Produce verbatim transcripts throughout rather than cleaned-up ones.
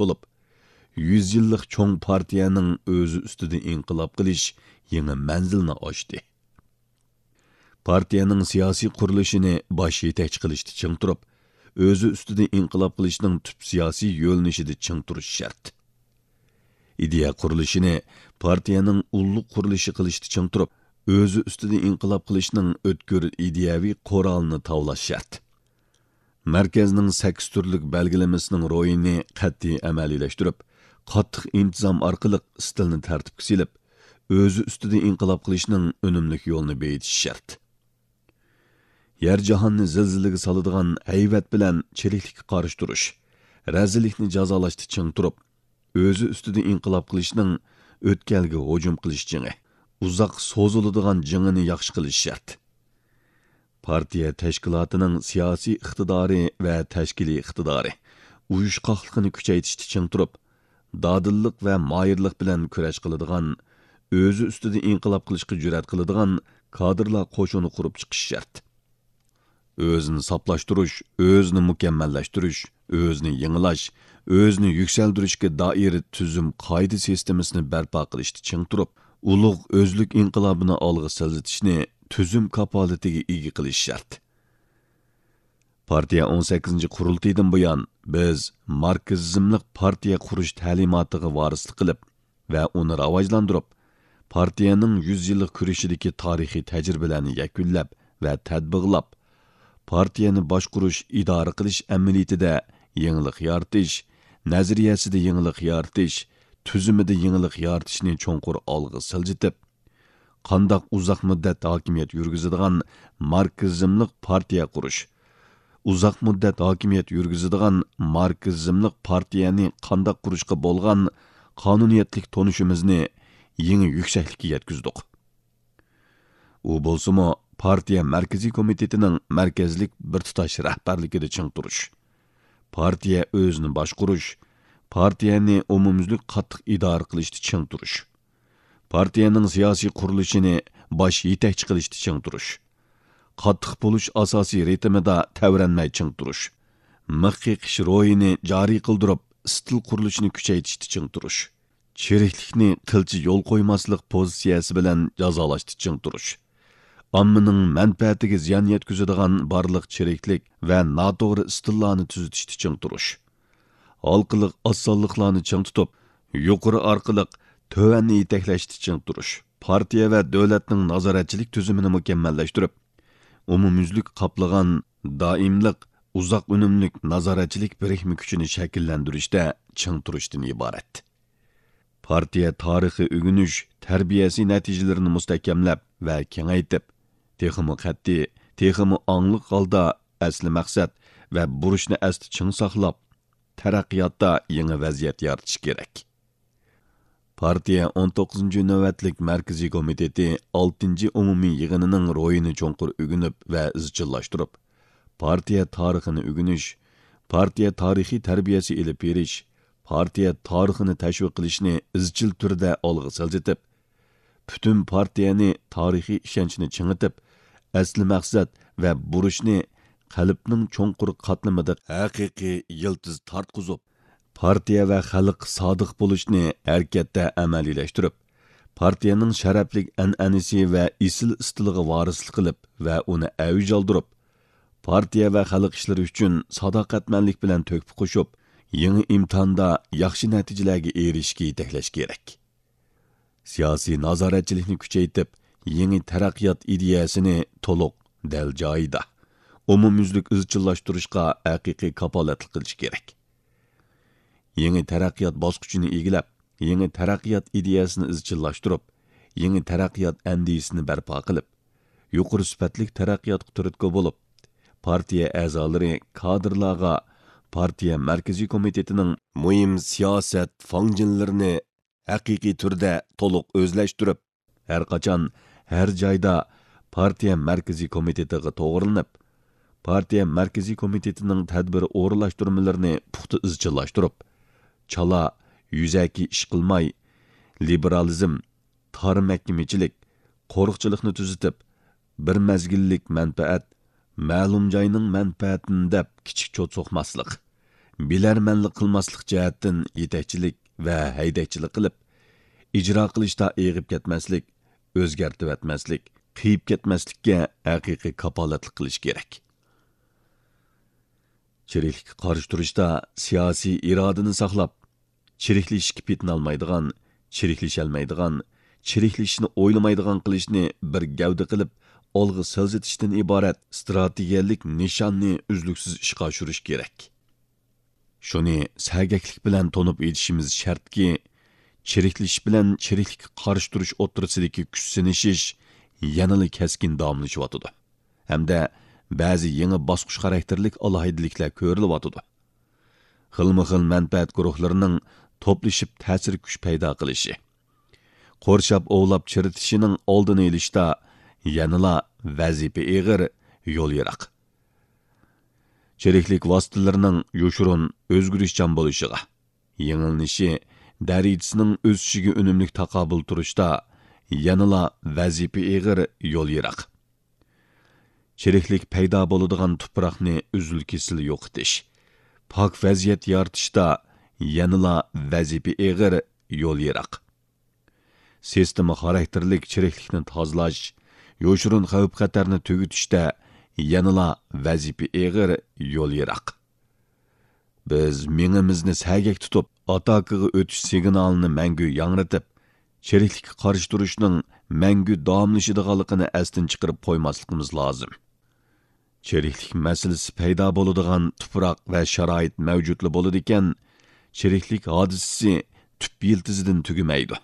بولۇپ، يۈز يىللىق چوڭ پارتىيەنىڭ ئۆزى ئۈستىدە ئىنقىلاب قىلىش يېڭى مەنزىلنى ئاشتى. پارتىيەنىڭ سىياسىي قۇرۇلۇشىنى باش يېتەكچى قىلىشتا چىڭ تۇرۇپ، ئۆزى ئۈستىدە ئىنقىلاب قىلىشنىڭ تۈپ سىياسىي يۆنىلىشىدە چىڭ تۇرۇش شەرت. ئىدىيە قۇرۇلۇشىنى پارتىيەنىڭ ئۇللۇق قۇرۇلۇشى قىلىشتا چىڭ تۇرۇپ، ئۆزى ئۈستىدە ئىنقىلاب قىلىشنىڭ ئۆتكۈر ئىدىيەۋى قورالىنى تاۋلاش شەرت. مەركەزنىڭ سەككىز تۈرلۈك بەلگىلىمىسىنىڭ روھىنى قەتئىي ئەمەلىيلەشتۈرۈپ، قاتتىق ئىنتىزام ئارقىلىق ئىستىلنى تەرتىپكە سېلىپ، ئۆزى ئۈستىدە ئىنقىلاب قىلىشنىڭ ئۈنۈملۈك يولىنى بېيىتىش شەرت. يەر جاھاننى زىلزىلىگە سالىدىغان ھەيۋەت بىلەن چىرىكلىككە قارشى تۇرۇش، رەزىللىكنى جازالاشتا چىڭ تۇرۇپ، ئۆزى ئۈستىدە ئىنقىلاب قىلىشنىڭ ئۆتكەلگە ھۇجۇم قىلىش جېڭى، ئۇزاق سوزۇلىدىغان جېڭىنى ياخشى قىلىش شەرت. پارتىيە تەشكىلاتىنىڭ سىياسىي ئىقتىدارى ۋە تەشكىلىي ئىقتىدارى، ئۇيۇشقاقلىقىنى كۈچەيتىشتە چىڭ تۇرۇپ، دادىللىق ۋە ماھىرلىق بىلەن كۈرەش قىلىدىغان، ئۆزى ئۈستىدە ئىنقىلاب قىلىشقا جۈرئەت قىلىدىغان كادىرلار قوشۇنى قۇرۇپ چىقىش شەرت. ئۆزىنى ساپلاشتۇرۇش، ئۆزىنى مۇكەممەللەشتۈرۈش، ئۆزىنى يېڭىلاش، ئۆزىنى يۈكسەلدۈرۈشكە دائىر تۈزۈم قائىدە سىستېمىسىنى بەرپا قىلىشتا چىڭ تۇرۇپ، ئۇلۇغ ئۆزلۈك ئىنقىلابىنى ئالغا سىلجىتىشنى تۈزۈم كاپالىتىگە ئىگە قىلىش شەرت. پارتىيە ئون سەككىزىنچى قۇرۇلتىيىدىن بۇيان، بىز ماركسىزملىق پارتىيە قۇرۇش تەلىماتىغا ۋارىسلىق قىلىپ ۋە ئۇنى راۋاجلاندۇرۇپ، پارتىيەنىڭ يۈز يىللىق كۈرىشىدىكى تارىخىي تەجرىبىلەرنى يەكۈنلەپ ۋە تەتبىقلاپ، پارتىيەنى باشقۇرۇش، ئىدارە قىلىش ئەمەلىيىتىدە يېڭىلىق يارىتىش، نەزەرىيەسىدە يېڭىلىق يارىتىش، تۈزۈمىدە يېڭىلىق يارىتىشنى چوڭقۇر ئالغا سىلجىتىپ، قانداق ئۇزاق مۇددەت ھاكىمىيەت يۈرگۈزىدىغان ماركسىزملىق پارتىيە قۇرۇش، ئۇزاق مۇددەت ھاكىمىيەت يۈرگۈزىدىغان ماركسىزملىق پارتىيەنى قانداق قۇرۇشقا بولغان قانۇنىيەتلىك تونۇشىمىزنى يېڭى يۈكسەكلىككە يەتكۈزدۇق. ئۇ بولسىمۇ، پارتىيە مەركىزىي كومىتېتىنىڭ مەركەزلىك بىر تۇتاش رەھبەرلىكىدە چىڭ تۇرۇش، پارتىيە ئۆزىنى باشقۇرۇش، پارتىيەنى ئومۇميۈزلۈك قاتتىق ئىدارە قىلىشتا چىڭ تۇرۇش، پارتىيەنىڭ سىياسىي قۇرۇلۇشىنى باش يېتەكچى قىلىشتا چىڭ تۇرۇش، قاتتىق بولۇش ئاساسىي رىتىمىدا تەۋرەنمەي چىڭ تۇرۇش، مىخ قېقىش روھىنى جارى قىلدۇرۇپ، ئىستىل قۇرۇلۇشىنى كۈچەيتىشتە چىڭ تۇرۇش، چىرىكلىكنى قىلچە يول قويماسلىق پوزىتسىيەسى بىلەن جازالاشتا چىڭ تۇرۇش، ئاممىنىڭ مەنپەئەتىگە زىيان يەتكۈزىدىغان بارلىق چىرىكلىك ۋە ناتوغرا ئىستىللارنى تۈزىتىشتە چىڭ تۇرۇش، ھالقىلىق ئاز سانلىقلارنى چىڭ تۇتۇپ، يۇقىرى ئارقىلىق تۆۋەننى يېتەكلەشتە چىڭ تۇرۇش، پارتىيە ۋە دۆلەتنىڭ نازارەتچىلىك تۈزۈمىنى مۇكەممەللەشتۈرۈپ، ئومۇميۈزلۈك قاپلىغان دائىملىق، ئۇزاق ئۈنۈملۈك نازارەتچىلىك بىرىكمە كۈچىنى شەكىللەندۈرۈشتە چىڭ تۇرۇشتىن ئىبارەت. پارتىيە تارىخىي ئۆگىنىش، تەربىيەسى نەتىجىلىرىنى مۇستەھكەملەپ ۋە كېڭەيتىپ، تېخىمۇ قەتئىي، تېخىمۇ ئاڭلىق ھالدا ئەسلى مەقسەت ۋە بۇرچنى ئەستە چىڭ ساقلاپ، تەرەققىياتتا يېڭى ۋەزىيەت يارىتىش كېرەك. پارتىيە ئون توققۇزىنچى نۆۋەتلىك مەركىزىي كومىتېتى ئالتىنچى ئومۇمىي يىغىنىنىڭ روھىنى چوڭقۇر ئۆگىنىپ ۋە ئىزچىللاشتۇرۇپ، پارتىيە تارىخىنى ئۆگىنىش، پارتىيە تارىخىي تەربىيەسى ئېلىپ بېرىش، پارتىيە تارىخىنى تەشۋىق قىلىشنى ئىزچىل تۈردە ئالغا سىلجىتىپ، پۈتۈن پارتىيەنى تارىخىي ئىشەنچنى چىڭىتىپ، ئەسلى مەقسەت ۋە بۇرچنى قەلبنىڭ چوڭقۇر قاتلىمىدا ھەقىقىي يىلتىز تارتقۇزۇپ، پارتىيە ۋە خەلققە سادىق بولۇشنى ھەرىكەتتە ئەمەلىيلەشتۈرۈپ، پارتىيەنىڭ شەرەپلىك ئەنئەنىسى ۋە ئېسىل ئىستىلىغا ۋارىسلىق قىلىپ ۋە ئۇنى ئەۋج ئالدۇرۇپ، پارتىيە ۋە خەلق ئىشلىرى ئۈچۈن ساداقەتمەنلىك بىلەن تۆھپە قوشۇپ، يېڭى ئىمتىھاندا ياخشى نەتىجىلەرگە ئېرىشىشكە يېتەكلەش كېرەك. سىياسىي نازارەتچىلىكنى كۈچەيتىپ، يېڭى تەرەققىيات ئىدىيەسىنى تولۇق، دەل جايىدا، ئومۇميۈزلۈك ئىزچىللاشتۇرۇشقا ھەقىقىي كاپالەتلىك قىلىش كېرەك. يېڭى تەرەققىيات باسقۇچىنى ئىگىلەپ، يېڭى تەرەققىيات ئىدىيەسىنى ئىزچىللاشتۇرۇپ، يېڭى تەرەققىيات ئەندىزىسىنى بەرپا قىلىپ، يۇقىرى سۈپەتلىك تەرەققىياتقا تۈرتكە بولۇپ، پارتىيە ئەزالىرى، كادىرلارغا پارتىيە مەركىزىي كومىتېتىنىڭ مۇھىم سىياسەت فاڭجېنلىرىنى ھەقىقىي تۈردە تولۇق ئۆزلەشتۈرۈپ، ھەر قاچان، ھەر جايدا پارتىيە مەركىزىي كومىتېتىغا توغرىلىنىپ، پارتىيە مەركىزىي كومىتېتىنىڭ تەدبىر ئورۇنلاشتۇرمىلىرىنى پۇختا ئىزچىللاشتۇرۇپ، چالا، يۈزەكى ئىش قىلماي، لىبېرالىزم، تار مەھكىمىچىلىك، قورۇقچىلىقنى تۈزىتىپ، بىر مەزگىللىك مەنپەئەت، مەلۇم جاينىڭ مەنپەئەتىنى دەپ كىچىك چوت سوقماسلىق، بىلەرمەنلىك قىلماسلىق جەھەتتىن يېتەكچىلىك ۋە ھەيدەكچىلىك قىلىپ، ئىجرا قىلىشتا ئېغىپ كەتمەسلىك، ئۆزگەرتىۋەتمەسلىك، قىيىپ كەتمەسلىككە ھەقىقىي كاپالەتلىك قىلىش كېرەك. چىرىكلىككە قارشى تۇرۇشتا سىياسىي ئىرادىنى ساقلاپ، چىرىكلىشىشكە پېتىنالمايدىغان، چىرىكلىشەلمەيدىغان، چىرىكلىشىشنى ئويلىمايدىغان قىلىشنى بىر گەۋدە قىلىپ، ئالغا سىلجىتىشتىن ئىبارەت ئىستراتېگىيەلىك نىشاننى ئۈزلۈكسىز ئىشقا ئاشۇرۇش كېرەك. شۇنى سەگەكلىك بىلەن تونۇپ يېتىشىمىز شەرتكى، چىرىكلىشىش بىلەن چىرىكلىككە قارشى تۇرۇش ئوتتۇرىسىدىكى كۈچ سىنىشىش يەنىلا كەسكىن داۋاملىشىۋاتىدۇ ھەمدە بەزى يېڭى باسقۇچ خاراكتېرلىك ئالاھىدىلىكلەر كۆرۈلۈۋاتىدۇ. خىلمۇ خىل مەنپەئەت گۇرۇھلىرىنىڭ توپلىشىپ تەسىر كۈچ پەيدا قىلىشى، قورشاپ ئوۋلاپ چىرىتىشىنىڭ ئالدىنى ئېلىشتا يەنىلا ۋەزىپە ئېغىر، يول يىراق. چىرىكلىك ۋاسىتىلىرىنىڭ يوشۇرۇن ئۆزگىرىشچان بولۇشىغا، يېڭىلىنىشى دەرىجىسىنىڭ ئۆسۈشىگە ئۈنۈملۈك تاقابىل تۇرۇشتا يەنىلا ۋەزىپە ئېغىر، يول يىراق. چىرىكلىك پەيدا بولىدىغان تۇپراقنى ئۈزۈل-كېسىل يوقىتىش، پاك ۋەزىيەت يارىتىشتا يەنىلا ۋەزىپە ئېغىر، يول يىراق. سىستېما خاراكتېرلىك چىرىكلىكنى تازىلاش، يوشۇرۇن خەۋپ-خەتەرنى تۈگىتىشتە يەنىلا ۋەزىپە ئېغىر، يول يىراق. بىز مېڭىمىزنى سەگەك تۇتۇپ، ئاتاكىغا ئۆتۈش سىگنالىنى مەڭگۈ ياڭرىتىپ، چىرىكلىككە قارشى تۇرۇشنىڭ مەڭگۈ داۋاملىشىدىغانلىقىنى ئەستىن چىقىرىپ قويماسلىقىمىز لازىم. چىرىكلىك مەسىلىسى پەيدا بولىدىغان تۇپراق ۋە شارائىت مەۋجۇتلا بولىدىكەن، چىرىكلىك ھادىسىسى تۈپ يىلتىزىدىن تۈگىمەيدۇ.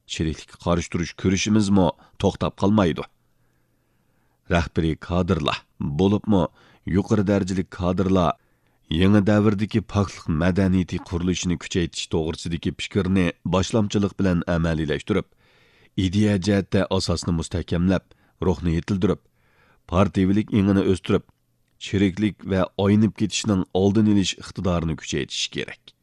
چىرىكلىككە قارشى تۇرۇش كۈرىشىمىزمۇ توختاپ قالمايدۇ. رەھبىرىي كادىرلار، بولۇپمۇ يۇقىرى دەرىجىلىك كادىرلار يېڭى دەۋردىكى پاكلىق مەدەنىيىتى قۇرۇلۇشىنى كۈچەيتىش توغرىسىدىكى پىكىرنى باشلامچىلىق بىلەن ئەمەلىيلەشتۈرۈپ، ئىدىيە جەھەتتە ئاساسنى مۇستەھكەملەپ، روھنى يېتىلدۈرۈپ، پارتىيىۋىلىك ئېڭىنى ئۆستۈرۈپ، چىرىكلىك ۋە ئاينىپ كېتىشنىڭ ئالدىنى ئېلىش ئىقتىدارىنى كۈچەيتىشى كېرەك.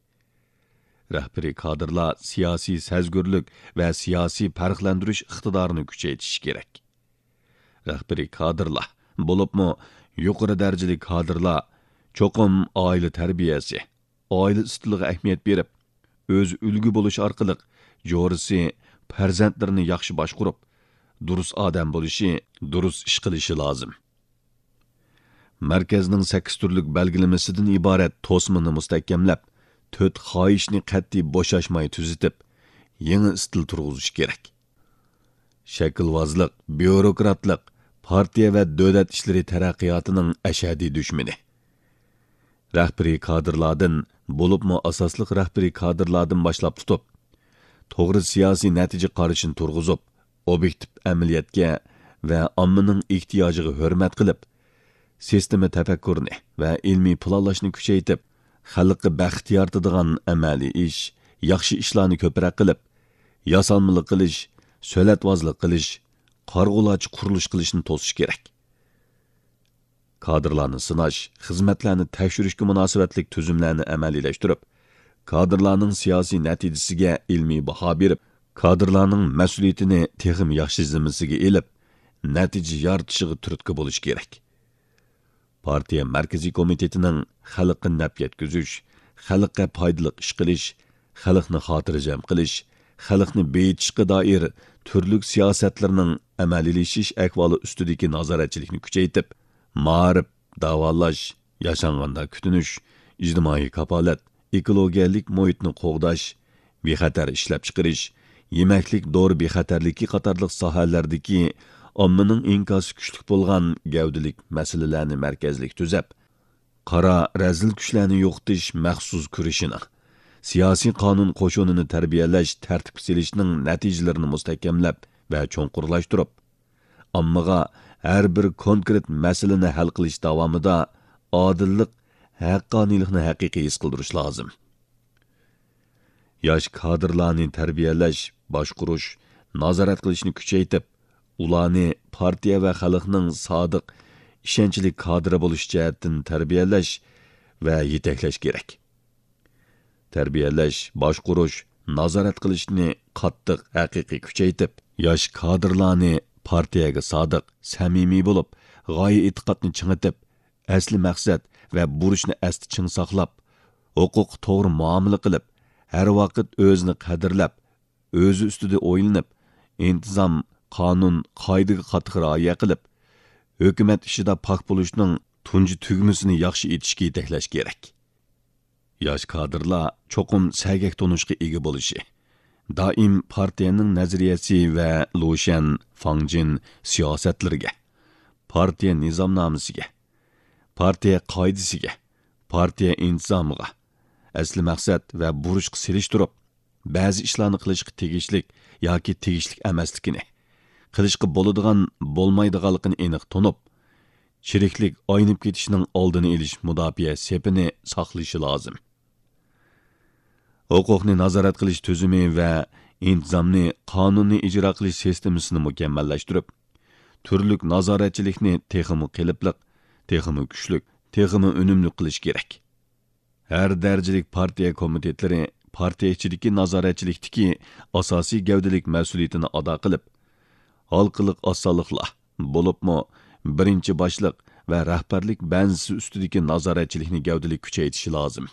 رەھبىرىي كادىرلار سىياسىي سەزگۈرلۈك ۋە سىياسىي پەرقلەندۈرۈش ئىقتىدارىنى كۈچەيتىشى كېرەك. رەھبىرىي كادىرلار، بولۇپمۇ يۇقىرى دەرىجىلىك كادىرلار چوقۇم ئائىلە تەربىيەسى، ئائىلە ئىستىلىغا ئەھمىيەت بېرىپ، ئۆزى ئۈلگە بولۇش ئارقىلىق جورىسى، پەرزەنتلىرىنى ياخشى باشقۇرۇپ، دۇرۇس ئادەم بولۇشى، دۇرۇس ئىش قىلىشى لازىم. مەركەزنىڭ سەككىز تۈرلۈك بەلگىلىمىسىدىن ئىبارەت توسمىنى مۇستەھكەملەپ، تۆت خاھىشنى قەتئىي بوشاشماي تۈزىتىپ، يېڭى ئىستىل تۇرغۇزۇش كېرەك. شەكىلۋازلىق، بيۇروكراتلىق پارتىيە ۋە دۆلەت ئىشلىرى تەرەققىياتىنىڭ ئەشەددىي دۈشمىنى. رەھبىرىي كادىرلاردىن، بولۇپمۇ ئاساسلىق رەھبىرىي كادىرلاردىن باشلاپ تۇتۇپ، توغرا سىياسىي نەتىجە قارىشىنى تۇرغۇزۇپ، ئوبيېكتىپ ئەمەلىيەتكە ۋە ئاممىنىڭ ئېھتىياجىغا ھۆرمەت قىلىپ، سىستېما تەپەككۇرىنى ۋە ئىلمىي پىلانلاشنى كۈچەيتىپ، خەلققە بەخت يارىتىدىغان ئەمەلىي ئىش، ياخشى ئىشلارنى كۆپرەك قىلىپ، ياسالمىلىق قىلىش، سۆلەتۋازلىق قىلىش، قارىغۇلارچە قۇرۇلۇش قىلىشنى توسۇش كېرەك. كادىرلارنى سىناش، خىزمەتلەرنى تەكشۈرۈشكە مۇناسىۋەتلىك تۈزۈملەرنى ئەمەلىيلەشتۈرۈپ، كادىرلارنىڭ سىياسىي نەتىجىسىگە ئىلمىي باھا بېرىپ، كادىرلارنىڭ مەسئۇلىيىتىنى تېخىمۇ ياخشى زىممىسىگە ئېلىپ، نەتىجە يارىتىشىغا تۈرتكە بولۇش كېرەك. پارتىيە مەركىزىي كومىتېتىنىڭ خەلققە نەپ يەتكۈزۈش، خەلققە پايدىلىق ئىش قىلىش، خەلقنى خاتىرجەم قىلىش، خەلقنى بېيىتىشقا دائىر تۈرلۈك سىياسەتلىرىنىڭ ئەمەلىيلىشىش ئەھۋالى ئۈستىدىكى نازارەتچىلىكنى كۈچەيتىپ، مائارىپ، داۋالاش، ياشانغاندا كۈتۈنۈش، ئىجتىمائىي كاپالەت، ئېكولوگىيەلىك مۇھىتنى قوغداش، بىخەتەر ئىشلەپچىقىرىش، يېمەكلىك دورا بىخەتەرلىكى قاتارلىق ساھەلەردىكى ئاممىنىڭ ئىنكاسى كۈچلۈك بولغان گەۋدىلىك مەسىلىلەرنى مەركەزلىك تۈزەپ، قارا رەزىل كۈچلەرنى يوقىتىش مەخسۇس كۈرىشىنىڭ، سىياسىي قانۇن قوشۇنىنى تەربىيەلەش، تەرتىپكە سېلىشنىڭ نەتىجىلىرىنى مۇستەھكەملەپ ۋە چوڭقۇرلاشتۇرۇپ، ئاممىغا ھەر بىر كونكرېت مەسىلىنى ھەل قىلىش داۋامىدا ئادىللىق، ھەققانىيلىقنى ھەقىقىي ھېس قىلدۇرۇش لازىم. ياش كادىرلارنى تەربىيەلەش، باشقۇرۇش، نازارەت قىلىشنى كۈچەيتىپ، ئۇلارنى پارتىيە ۋە خەلقنىڭ سادىق، ئىشەنچلىك كادىرى بولۇش جەھەتتىن تەربىيەلەش ۋە يېتەكلەش كېرەك. تەربىيەلەش، باشقۇرۇش، نازارەت قىلىشنى قاتتىق، ھەقىقىي كۈچەيتىپ، ياش كادىرلارنى پارتىيەگە سادىق، سەمىمىي بولۇپ، غايە ئېتىقادنى چىڭىتىپ، ئەسلى مەقسەت ۋە بۇرچنى ئەستە چىڭ ساقلاپ، ھوقۇققا توغرا مۇئامىلە قىلىپ، ھەر ۋاقىت ئۆزىنى قەدىرلەپ، ئۆزى ئۈستىدە ئويلىنىپ، ئىنتىزام، قانۇن، قائىدىگە قاتتىق رىئايە قىلىپ، ھۆكۈمەت ئىشىدا پاك بولۇشنىڭ تۇنجى تۈگمىسىنى ياخشى ئېتىشكە يېتەكلەش كېرەك. ياش كادىرلار چوقۇم سەگەك تونۇشقا ئىگە بولۇشى، دائىم پارتىيەنىڭ نەزەرىيەسى ۋە لۇشيەن، فاڭجىن سىياسەتلىرىگە، پارتىيە نىزامنامىسىگە، پارتىيە قائىدىسىگە، پارتىيە ئىنتىزامىغا، ئەسلى مەقسەت ۋە بۇرچقا سېلىشتۇرۇپ، بەزى ئىشلارنى قىلىشقا تېگىشلىك ياكى تېگىشلىك ئەمەسلىكىنى، قىلىشقا بولىدىغان، بولمايدىغانلىقىنى ئېنىق تونۇپ، چىرىكلىك ئاينىپ كېتىشنىڭ ئالدىنى ئېلىش مۇداپىئە سېپىنى ساقلىشى لازىم. ھوقۇقنى نازارەت قىلىش تۈزۈمى ۋە ئىنتىزامنى، قانۇننى ئىجرا قىلىش سىستېمىسىنى مۇكەممەللەشتۈرۈپ، تۈرلۈك نازارەتچىلىكنى تېخىمۇ قېلىپلىق، تېخىمۇ كۈچلۈك، تېخىمۇ ئۈنۈملۈك قىلىش كېرەك. ھەر دەرىجىلىك پارتىيە كومىتېتلىرى پارتىيە ئىچىدىكى نازارەتچىلىكتىكى ئاساسىي گەۋدىلىك مەسئۇلىيىتىنى ئادا قىلىپ، ھالقىلىق ئاز سانلىقلار، بولۇپمۇ بىرىنچى باشلىق ۋە رەھبەرلىك بەنزىسى ئۈستىدىكى نازارەتچىلىكنى گەۋدىلىك كۈچەيتىشى لازىم.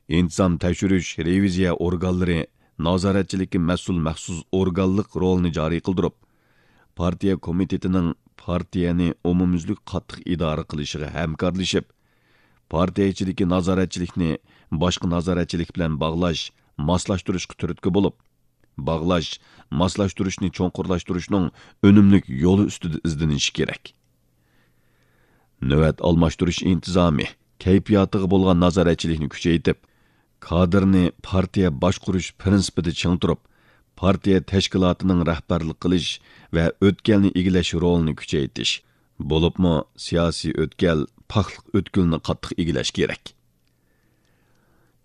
ئىنتىزام تەكشۈرۈش، رېۋىزىيە ئورگانلىرى نازارەتچىلىككە مەسئۇل مەخسۇس ئورگانلىق رولىنى جارى قىلدۇرۇپ، پارتىيە كومىتېتىنىڭ پارتىيەنى ئومۇميۈزلۈك قاتتىق ئىدارە قىلىشىغا ھەمكارلىشىپ، پارتىيە ئىچىدىكى نازارەتچىلىكنى باشقا نازارەتچىلىك بىلەن باغلاش، ماسلاشتۇرۇشقا تۈرتكە بولۇپ، باغلاش، ماسلاشتۇرۇشنى چوڭقۇرلاشتۇرۇشنىڭ ئۈنۈملۈك يولى ئۈستىدە ئىزدىنىشى كېرەك. نۆۋەت ئالماشتۇرۇش ئىنتىزامى، كەيپىياتىغا بولغان نازارەتچىلىكنى كۈچەيتىپ، كادىرنى پارتىيە باشقۇرۇش پىرىنسىپىدا چىڭ تۇرۇپ، پارتىيە تەشكىلاتىنىڭ رەھبەرلىك قىلىش ۋە ئۆتكەلنى ئىگىلەش رولىنى كۈچەيتىش، بولۇپمۇ سىياسىي ئۆتكەل، پاكلىق ئۆتكىلىنى قاتتىق ئىگىلەش كېرەك.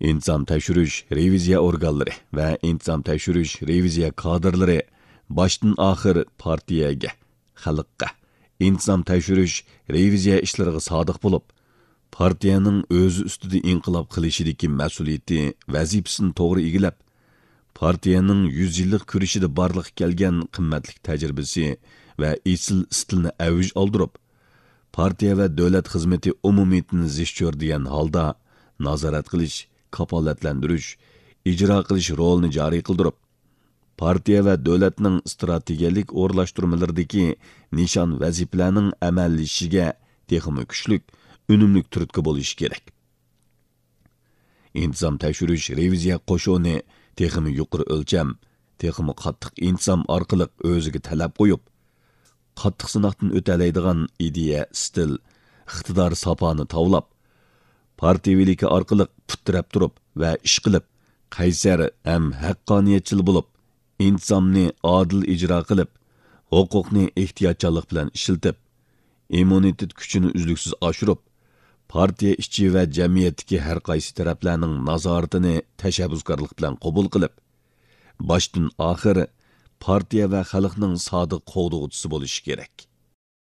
ئىنتىزام تەكشۈرۈش، رېۋىزىيە ئورگانلىرى ۋە ئىنتىزام تەكشۈرۈش، رېۋىزىيە كادىرلىرى باشتىن ئاخىر پارتىيەگە، خەلققە، ئىنتىزام تەكشۈرۈش، رېۋىزىيە ئىشلىرىغا سادىق بولۇپ، پارتىيەنىڭ ئۆزى ئۈستىدە ئىنقىلاب قىلىشىدىكى مەسئۇلىيىتى، ۋەزىپىسىنى توغرا ئىگىلەپ، پارتىيەنىڭ يۈز يىللىق كۈرىشىدە بارلىققا كەلگەن قىممەتلىك تەجرىبىسى ۋە ئېسىل ئىستىلىنى ئەۋج ئالدۇرۇپ، پارتىيە ۋە دۆلەت خىزمىتى ئومۇمىيىتىنى زىچ چۆرىدىگەن ھالدا نازارەت قىلىش، كاپالەتلەندۈرۈش، ئىجرا قىلىش رولىنى جارى قىلدۇرۇپ، پارتىيە ۋە دۆلەتنىڭ ئىستراتېگىيەلىك ئورۇنلاشتۇرمىلىرىدىكى نىشان ۋەزىپىلەرنىڭ ئەمەلىيلىشىشىگە تېخىمۇ كۈچلۈك، ئۈنۈملۈك تۈرتكە بولۇشى كېرەك. ئىنتىزام تەكشۈرۈش رېۋىزىيە قوشۇنى تېخىمۇ يۇقىرى ئۆلچەم، تېخىمۇ قاتتىق ئىنتىزام ئارقىلىق ئۆزىگە تەلەپ قويۇپ، قاتتىق سىناقتىن ئۆتەلەيدىغان ئىدىيە، ئىستىل، ئىقتىدار ساپانى تاۋلاپ، پارتىيىۋىلىكى ئارقىلىق پۇت تىرەپ تۇرۇپ ۋە ئىش قىلىپ، قەيسەر ھەم ھەققانىيەتچىل بولۇپ، ئىنتىزامنى ئادىل ئىجرا قىلىپ، ھوقۇقنى ئېھتىياتچانلىق بىلەن ئىشلىتىپ، ئىممۇنىتېت كۈچىنى ئۈزلۈكسىز ئاشۇرۇپ، پارتىيە ئىچى ۋە جەمئىيەتتىكى ھەر قايسى تەرەپلەرنىڭ نازارىتىنى تەشەببۇسكارلىق بىلەن قوبۇل قىلىپ، باشتىن ئاخىر پارتىيە ۋە خەلقنىڭ سادىق قوغدىغۇچىسى بولۇشى كېرەك.